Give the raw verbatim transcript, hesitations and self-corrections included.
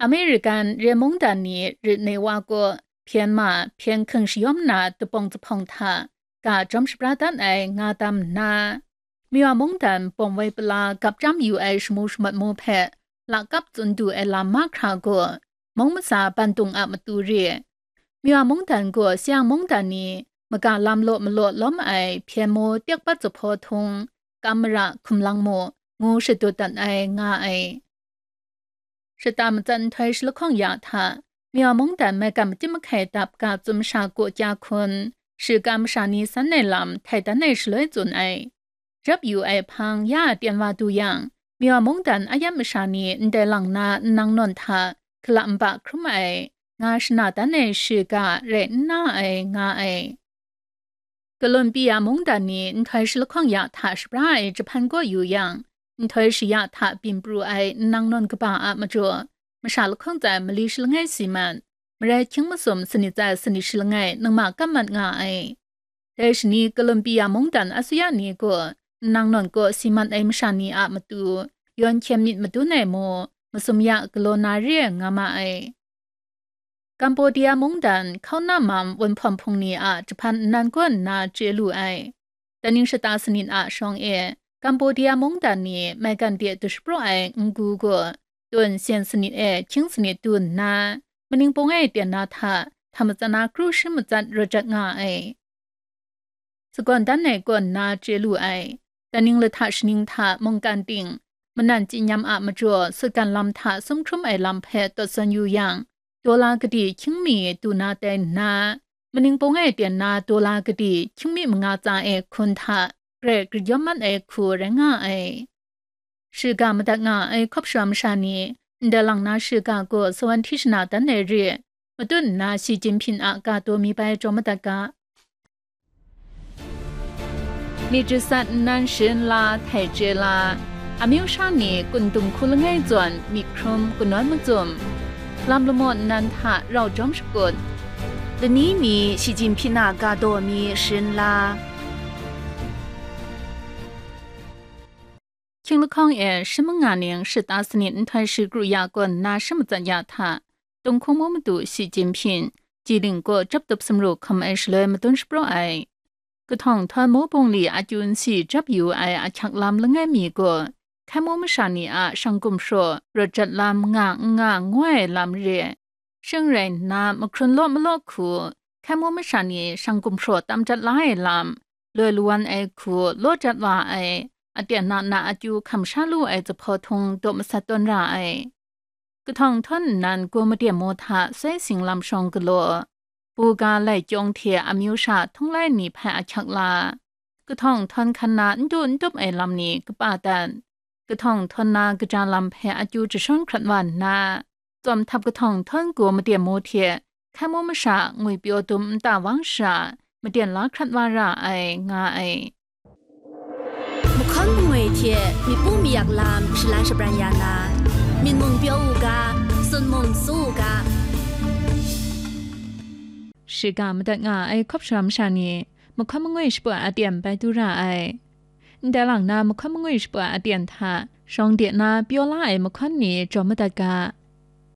American re mungdan ni rit ne wa kaw hpyen ma, hpyen hkying shayawm na dubawng zuphpawng hta ga jawm shabra dat ai nga tam nna, Myawa mungdan bawng woi pala gap chyam yu ai shamu shamat mu hpe lakap tsun du ai lam mahkra gaw, mung matsa bandung a matu re. Myawa mungdan gaw Siang mungdan ni maga lam law malaw lawm ai hpyen mu, tyak bat zuphpawng htung, kam mara, hkum lang mu, ngu shadut dat ai nga ai. Shata matsat nhtoi shalahkawng ya hta, Myawa mungdan maigan makyit mahkai dap ga tsun masha kaw kya hkun, shiga masha ni san ai lam htai dan ai shaloi tsun ai. Jap yu ai hpang ya a tyen wa du yang, Myawa mungdan a yam masha ni ndai lang na nnang nawn hta hkala nba hkrum ai, nga shana dan ai shiga rai n na ai nga ai. Columbia mungdan ni nhtoi shalahkawng ya hta shabra ai jahpan kaw yu yang, nhtoi shaya hta byin pru ai nnang nawn kaba a majaw, masha lahkawng tsai mali shalangai si mat, marai hkying masum sanit tsai sanit shalangai ningma kam mat nga ai. Dai shani Columbia mungdan asuya ni gaw nnang nawn kaw si mat ai masha ni a matu, yawn hkyen myit madun ai mu, masum ya galaw na re ai nga ma ai. Cambodia mungdan hkauna mam wunhpawm hpung ni a jahpan nnan kaw nna chye lu ai. Daning shata sanit a shawng e, Cambodia mungdan ni maigan de dushapraw ai n-gu gaw, tun sen sanit e hkying sanit du nna, maning pung e tyen na hta, hta matsat na kru shi matsat rawt jat nga ai. Sagawn dan ai kaw nna chye lu ai. Daning lahta shaning hta mungkan ting, manan chyinyam a majaw sutgan lam hta sum hkrum ai lam hpe tawt zawn yu yang, dola kadi hkying mi du na tai nna, maning pung e tyen na dola kadi hkying mi manga tsa e hkun hta grai grayawm mat ai hku rai nga ai. Shiga madat nga ai hkawp shara masha ni, ndai lang na shiga gaw sawan hti shana dan ai re, matut nna Xi Jinping a ga daw mi bai jaw madat ga. Myit jasat nnan sharin la, htai chye la, amyu sha ni kun dum hku langai zawn myit hkrum kanawn macum, lam lamaw nnan hta rau jawm shakut, lani mi Xi Jinping a ga daw mi sharin la. Hkying lahkawng e shi manga ning shata sanit nhtoi shi kru ya kaw nna shi matsat ya hta, Tung hkung mu madu Xi Jinping, Jilin kaw jap tup sumru hkam ai shaloi madun shapraw ai. Kahtawng htawn mu bungli akyu nsi jap yu ai ahkyak lam langai mi gaw, hkai mu masha ni a shang gumhpraw rawt jat lam nga n nga ngu ai lam re. Shing rai nna, mahkrun law malaw hku, hkai mu masha ni shang gumhpraw tam jat la ai lam, loi lawan ai hku law jat wa ai, aten na na akyu hkam sha lu ai zuphpawt htung daw masat tawn ra ai. Kahtawng htawn nnan gaw maden mu hta soi sing lam shawng galaw, buga lai kyawng hte amyu sha htung lai ni hpe ahkyak la, kahtawng htawn hkan na n du n tup ai lam ni kapa dat, kahtawng htawn na kaja lam hpe akyu jashawn hkrat wa nna, tsawm htap kahtawng htawn gaw maden mu hte hkai mu masha ngwi pyaw dum nta wang sha, maden la hkrat wa ra ai, nga ai. Mahkawn mangwi hte myit pu mayak lam shalan shabran ya na, myit mung pyaw u ga, sun mung tsu u ga. Shiga madat nga ai hkawp shara masha ni, mahkawn mangwi shaput aten bai du ra ai. Ndai lang na mahkawn mangwi shaput aten hta, shawng de na pyaw la ai mahkawn ni jaw madat ga.